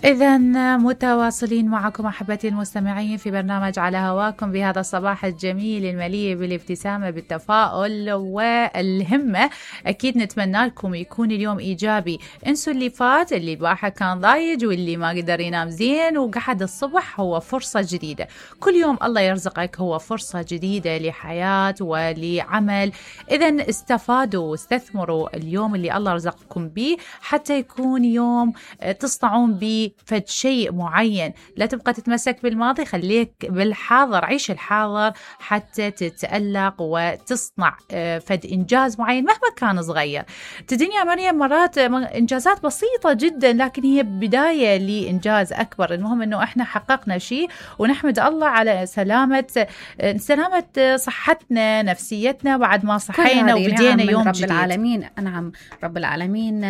إذا متواصلين معكم أحبتي المستمعين في برنامج على هواكم بهذا الصباح الجميل المليء بالابتسامة بالتفاؤل والهمة. أكيد نتمنى لكم يكون اليوم إيجابي. انسوا اللي فات، اللي الواحد كان ضايج واللي ما قدر ينام زين وقعد الصبح، هو فرصة جديدة. كل يوم الله يرزقك هو فرصة جديدة لحياة ولعمل. إذا استفادوا واستثمروا اليوم اللي الله رزقكم به حتى يكون يوم تصنعون به فد شيء معين. لا تبقى تتمسك بالماضي، خليك بالحاضر، عيش الحاضر حتى تتألق وتصنع فد إنجاز معين مهما كان صغير. تديني يا مريم مرات إنجازات بسيطة جدا لكن هي بداية لإنجاز أكبر. المهم أنه إحنا حققنا شيء ونحمد الله على سلامة صحتنا نفسيتنا بعد ما صحينا وبدينا يوم رب جديد. العالمين نعم رب العالمين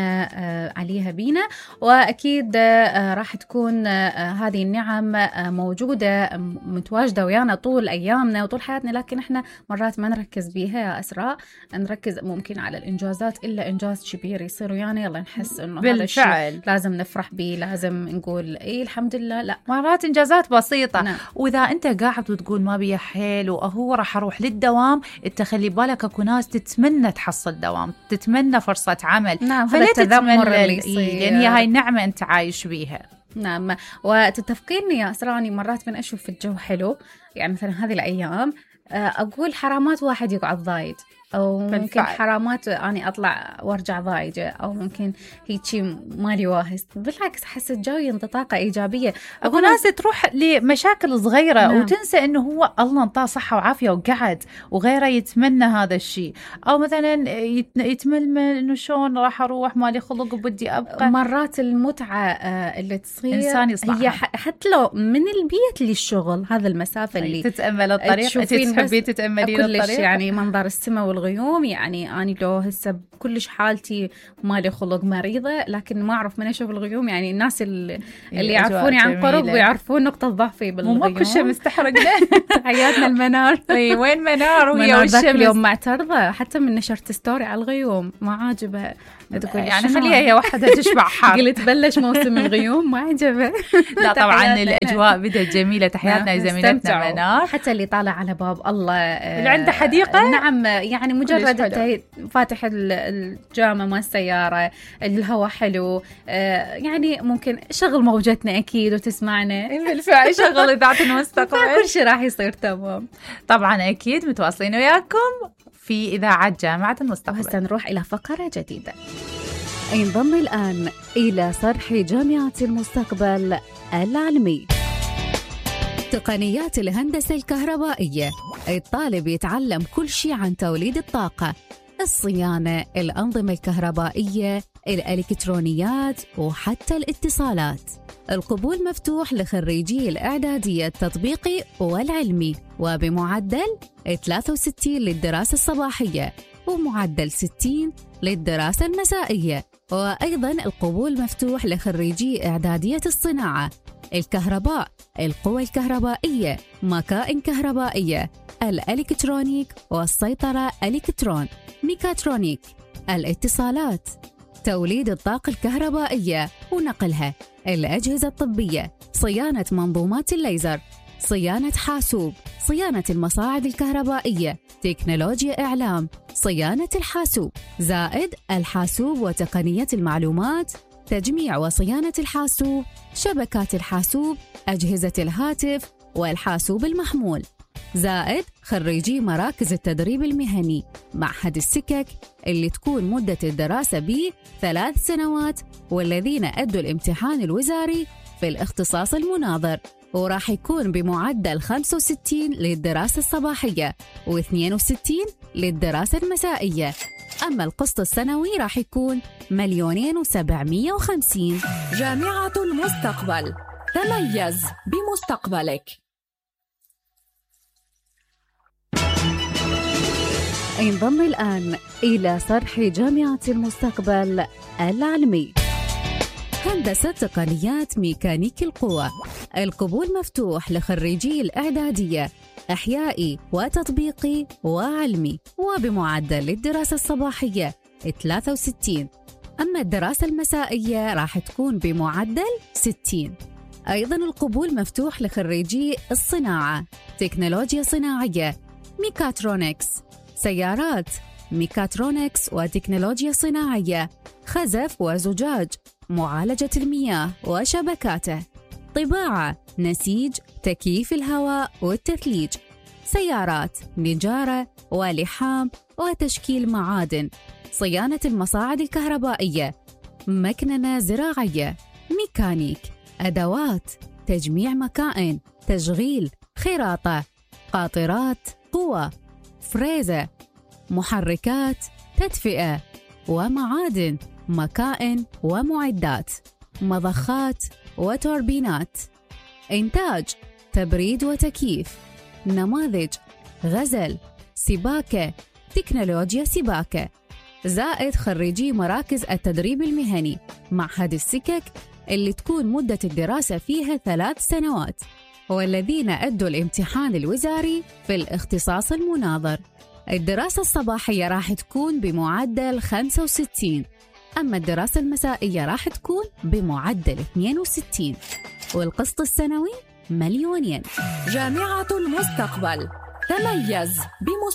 عليها بينا، وأكيد راح تكون هذه النعم موجودة متواجدة ويانا طول أيامنا وطول حياتنا، لكن إحنا مرات ما نركز بيها يا أسراء. نركز ممكن على الإنجازات إلا إنجاز كبير يصير ويانا يلا نحس إنه هذا الشيء لازم نفرح به، لازم نقول إيه الحمد لله. لا، مرات إنجازات بسيطة. نعم. وإذا أنت قاعد وتقول ما بيا حيل وهو راح أروح للدوام، أنت خلي بالك أكو ناس تتمنى تحصل دوام، تتمنى فرصة عمل. نعم، فلا التذمر تتمنى اللي يصير، لأن هي هاي النعمة أنت عايش بيها. نعم. وتتفقيني يا أسراني مرات من أشوف الجو حلو، يعني مثلا هذه الأيام أقول حرامات واحد يقعد ضايد، أو ممكن حرامات أنا أطلع وارجع ضايجة، أو ممكن هيك مالي واهس. بالعكس حس الجو ينطي طاقة إيجابية. أكو ناس تروح لمشاكل صغيرة نعم. وتنسى إنه هو الله انطاه صحة وعافية وقعد، وغيره يتمنى هذا الشيء. أو مثلا يتململ إنه شون راح أروح مالي خلق وبدي أبقى. مرات المتعة اللي تصير إنسان يصنعها. هي حتى لو من البيت للشغل، هذا المسافة اللي تتأمل الطريق، أنت تحبي تتأملين الطريق. يعني منظر السماء والغيوم. يعني أنا لو هسه كلش حالتي مالي خلق مريضة، لكن ما أعرف من أشوف الغيوم. يعني الناس اللي يعرفوني عن قرب ويعرفون نقطة ضعفي بالغيوم. مو كل شيء مستحرقنا. حياتنا المنار. وين منار وهي والشمس. اليوم معترضة حتى من نشرت ستوري على الغيوم، ما عاجبها. يعني خليها هي وحدها تشبع حار. قلت بلش موسم الغيوم ما عجبه. لا طبعا الأجواء بدت جميلة. تحياتنا زميلتنا منار. حتى اللي طالع على باب الله اللي عنده حديقة. نعم، يعني مجرد فاتح الجامة مال السيارة، الهواء حلو، يعني ممكن شغل موجتنا أكيد وتسمعنا. بالفعل شغل إذاعة المستقبل. كل شيء راح يصير تمام. طبعا أكيد متواصلين وياكم في إذاعة جامعة المستقبل. وهسه نروح إلى فقرة جديدة. انضم الآن إلى صرح جامعة المستقبل العلمي. تقنيات الهندسة الكهربائية. الطالب يتعلم كل شيء عن توليد الطاقة، الصيانة، الأنظمة الكهربائية، الإلكترونيات وحتى الاتصالات. القبول مفتوح لخريجي الإعدادية التطبيقي والعلمي، وبمعدل 63 للدراسة الصباحية ومعدل 60 للدراسة المسائية. وأيضاً القبول مفتوح لخريجي إعدادية الصناعة، الكهرباء، القوى الكهربائية، مكائن كهربائية، الإلكترونيك والسيطرة إلكترون، ميكاترونيك، الاتصالات، توليد الطاقة الكهربائية ونقلها، الأجهزة الطبية، صيانة منظومات الليزر، صيانة حاسوب، صيانة المصاعد الكهربائية، تكنولوجيا إعلام، صيانة الحاسوب، زائد الحاسوب وتقنية المعلومات، تجميع وصيانة الحاسوب، شبكات الحاسوب، أجهزة الهاتف والحاسوب المحمول، زائد خريجي مراكز التدريب المهني، معهد السكك اللي تكون مدة الدراسة به 3 سنوات، والذين أدوا الامتحان الوزاري في الاختصاص المناظر، وراح يكون بمعدل 65 للدراسة الصباحية و62 للدراسة المسائية. أما القسط السنوي راح يكون 2,750,000. جامعة المستقبل، تميز بمستقبلك. انضم الآن إلى صرح جامعة المستقبل العلمي. هندسة تقنيات ميكانيك القوى. القبول مفتوح لخريجي الإعدادية إحيائي وتطبيقي وعلمي، وبمعدل للدراسة الصباحية 63 أما الدراسة المسائية راح تكون بمعدل 60. أيضاً القبول مفتوح لخريجي الصناعة، تكنولوجيا صناعية، ميكاترونكس، سيارات، ميكاترونكس وتكنولوجيا صناعية، خزف وزجاج، معالجة المياه وشبكاته، طباعة، نسيج، تكييف الهواء والتثليج، سيارات، نجارة ولحام وتشكيل معادن، صيانة المصاعد الكهربائية، مكننة زراعية، ميكانيك، أدوات، تجميع مكائن، تشغيل، خراطة، قاطرات، قوى، فريزة، محركات، تدفئة ومعادن، مكائن ومعدات، مضخات وتوربينات، إنتاج، تبريد وتكييف، نماذج، غزل، سباكة، تكنولوجيا سباكة، زائد خريجي مراكز التدريب المهني، معهد السكك اللي تكون مدة الدراسة فيها 3 سنوات، والذين أدوا الامتحان الوزاري في الاختصاص المناظر. الدراسة الصباحية راح تكون بمعدل 65، أما الدراسة المسائية راح تكون بمعدل 62، والقسط السنوي 2,000,000 ين. جامعة المستقبل، تميز